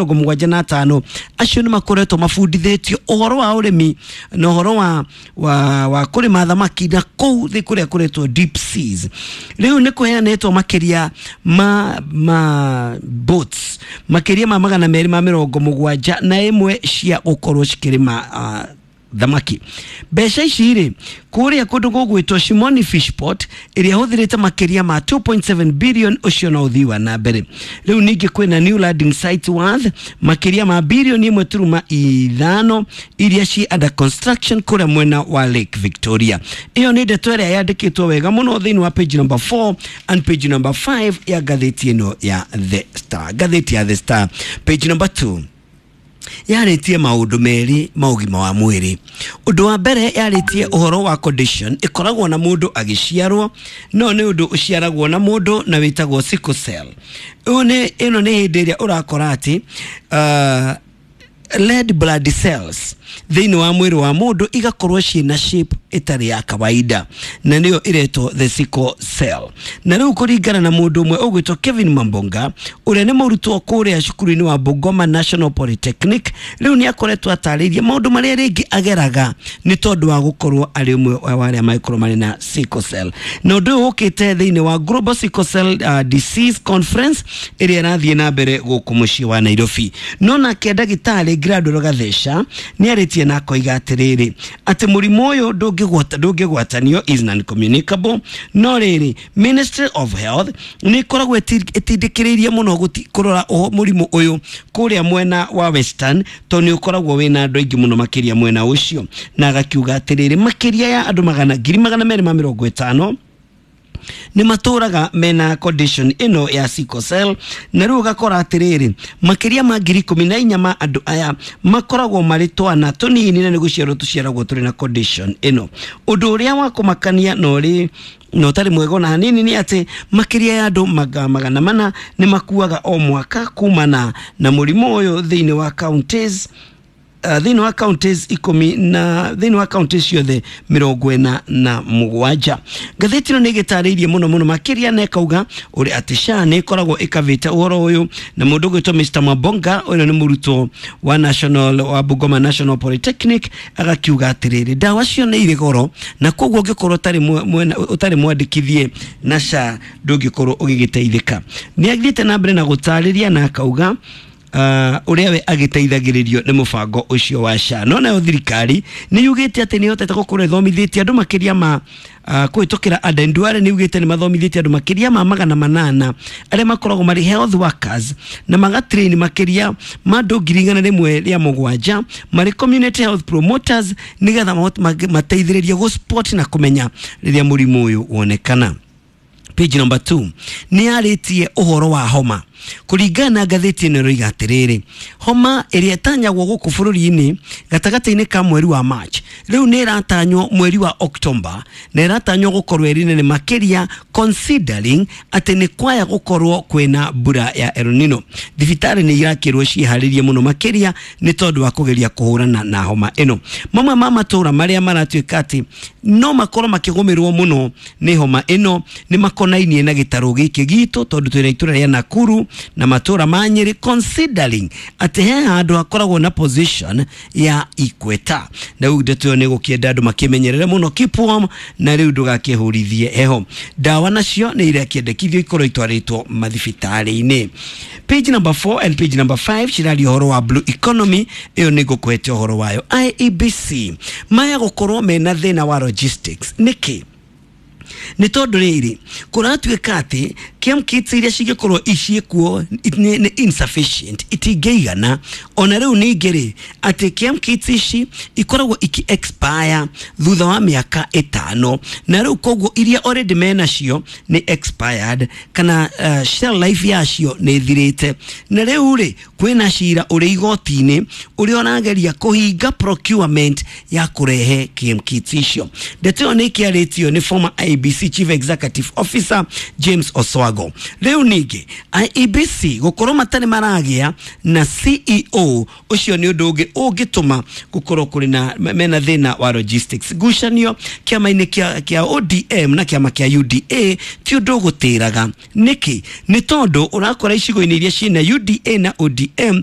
75 acio nĩ makoretwo mabundithĩtio ũhoro wa ũrĩmi na ũhoro wa kũrĩma thamaki na kũu thĩ kũrĩa kũretwo deep seas. Rĩu nĩ kũheanĩtwo makĩria ma boats makĩria ma 271 cia gũkorwo cikĩrĩma thamaki. Mbeca ici rĩ kũrĩa kũndũ gũgwĩtwo Shimoni Fishport ĩrĩa ĩhũthĩrĩte makĩria ma 2.7 billion, ũcio no ũthii wa na mbere. Rĩu ningĩ kwĩna new landing site worth makĩria ma bilioni 1.5 iria ci under construction kũrĩa mwena wa Lake Victoria. Ĩyo nĩ ndeto ĩrĩa yandĩkĩtwo wega mũno thĩinĩ wa page number 4 and page number 5 ya ngathĩti ĩno ya The Star. Ngathĩti ya The Star page number 2 yarĩtie maũndũ merĩ ma ũgima wa mwĩrĩ. Ũndũ wa mbere yarĩtie ũhoro wa condition ĩkoragwo na mũndũ agĩciarwo, no nĩ ũndũ ũciaragwo na mũndũ na wĩtagwo sickle cell. Ĩno nĩ hĩndĩ ĩrĩa ũrakora atĩ red blood cells thĩinĩ wa mwĩrĩ wa mũndũ igakorwo ciĩna shape ĩtarĩ ya kawaida, na nĩyo ĩretwo the sickle cell. Na rĩu kũringana na mũndũ ũmwe ũgwĩtwo Kevin Mambonga ũrĩa nĩ mũrutwo kũrĩa cukuru-inĩ wa Bungoma National Polytechnic, rĩu nĩ akoretwo atarĩirie maũndũ marĩa rĩngĩ ageraga nĩ tondũ wa gũkorwo arĩ ũmwe wa arĩa mangĩkorwo marĩ na sickle cell. Na ũndũ ũyũ ũkĩte thĩinĩ wa Global Sickle Cell Disease Conference ĩrĩa ĩrathiĩ na mbere gũkũ mũciĩ wa Nairobi. No nake ndagĩtarĩ Gladwell Gatheca nĩ arĩtie na akoiga atĩrĩrĩ atĩ mũrimũ ũyũ ndũngĩgwatanio, is non-communicable, no rĩrĩ Ministry of Health nĩ ĩkoragwo ĩtindĩkĩrĩirie mũno kũrora mũrimũ ũyũ kũrĩa mwena wa Western, tondũ nĩ ũkoragwo wĩna andũ aingĩ mũno makĩria mwena ũcio, na agakiuga atĩrĩrĩ makĩria ya andũ 250,000 nĩ matũraga mena condition ĩno ya sickle cell, na rĩu ũgakora atĩrĩrĩ makĩria ma 14,000 ma andũ aya makoragwo marĩ twana tũnini na nĩ gũciarwo tũciaragwo tũrĩ na condition ĩno. Ũndũ ũrĩa wa kũmakania na ũrĩ na ũtarĩ mwega ona hanini nĩ atĩ makĩria ya andũ 400 nĩ makuaga o mwaka kumana na mũrimũ ũyũ thĩinĩ wa counties, thĩinĩ wa counties 10 na thĩinĩ wa counties ciothe 47. Ngathĩti ĩno nĩ ĩgĩtarĩirie mũno mũno makĩria na ĩkauga ũrĩa atĩ SHA nĩ ĩkoragwo ĩkavĩte ũhoro ũyũ, na mũndũ ũgwĩtwo Mr Mabonga ũyũ nĩ mũrutwo wa National wa Bungoma National Polytechnic agakiuga atĩrĩrĩ ndawa cio nĩ irĩ goro na koguo ũngĩkorwo ũtarĩ mwandĩkithie na SHA ndũngĩkorwo ũgĩgĩteithĩka. Nĩ athiĩte na mbere na gũtarĩria na akauga ũrĩa we agĩteithagĩrĩrio nĩ mũbango ũcio wa SHA. No nayo thirikari nĩ yugĩte atĩ nĩ ĩhotete gũkorwo ĩthomithĩtie andũ makĩria ma kũhĩtũkĩra Aden Duale nĩ yugĩte nĩ mathomithĩtie andũ makĩria ma 800 arĩa makoragwo marĩ health workers na magatrain makĩria ma andũ 107,000 marĩ community health promoters nĩgetha mateithĩrĩrie gũ spot na kũmenya rĩrĩa mũrimũ ũyũ wonekana. Page number 2 nĩ yarĩtie ũhoro wa homa. Kũringana na ngathĩti ĩno ĩroiga atĩrĩrĩ homa ĩrĩa ĩtanyagwo gũkũ bũrũri-inĩ gatagatĩ-inĩ ka mweri wa March rĩu nĩ ĩratanywo mweri wa October na ĩratanywo gũkorwo ĩrĩ nene makĩria considering atĩ nĩ kwaya gũkorwo kwĩna mbura ya El Nino. Thibitarĩ nĩ irakĩrwo ciĩharĩrie mũno makĩria nĩ tondũ wa kũgeria kũhũrana na homa ĩno. Mamwe ma matũra marĩa maratuĩka atĩ no makorwo makĩgũmĩrwo mũno nĩ homa ĩno nĩ makonainie na gĩtarũ gĩkĩ gitũ tondũ twĩna itũra rĩa Nakuru na matũra ma Nyĩrĩ considering atĩ he handũ hakoragwo na position ya Ikweta. Na rĩu ndeto ĩyo nĩ gũkĩenda andũ makĩmenyerere mũno, keep warm, na rĩu ndũgakĩhũrithie heho. Ndawa nacio nĩ irakĩendekithio ikorwo itwarĩtwo mathibitarĩ-inĩ. Page number 4 and page number 5 ciraria ũhoro wa blue economy, ĩyo nĩ ngũkũhete ũhoro wayo. IEBC maya gũkorwo mena thĩna wa logistics nĩkĩ? Nĩ tondũ rĩrĩ kũratuĩka atĩ chem kits iria cingĩkorwo iciĩkuo nĩ insufficient, itingĩigana. Ona rĩu ningĩ rĩ atĩ chem kits ici ikoragwo iki expire thutha wa mĩaka 5, na rĩu koguo iria already menacio nĩ expired kana shelf life yacio nĩ ĩthirĩte. Na rĩu rĩ kwĩna cira ũrĩ igoti-inĩ ũrĩa ũrageria kũhinga procurement ya kũrehe chem kits icio. Ndeto ĩyo nĩ ĩkĩarĩtio nĩ former IEBC Chief Executive Officer James Oswago. Struggle. Rĩu ningĩ IEBC gũkorwo matarĩ maragĩa na CEO, ũcio nĩ ũndũ ũngĩ ũngĩtũma gũkorwo kũrĩ na mena thĩna wa logistics. Ngucanio kĩama-inĩ kĩa ODM na kĩama kĩa UDA ti ũndũ ũgũtĩraga. Nĩkĩ? Nĩ tondũ ũrakora icigo-inĩ iria ciĩna UDA na ODM.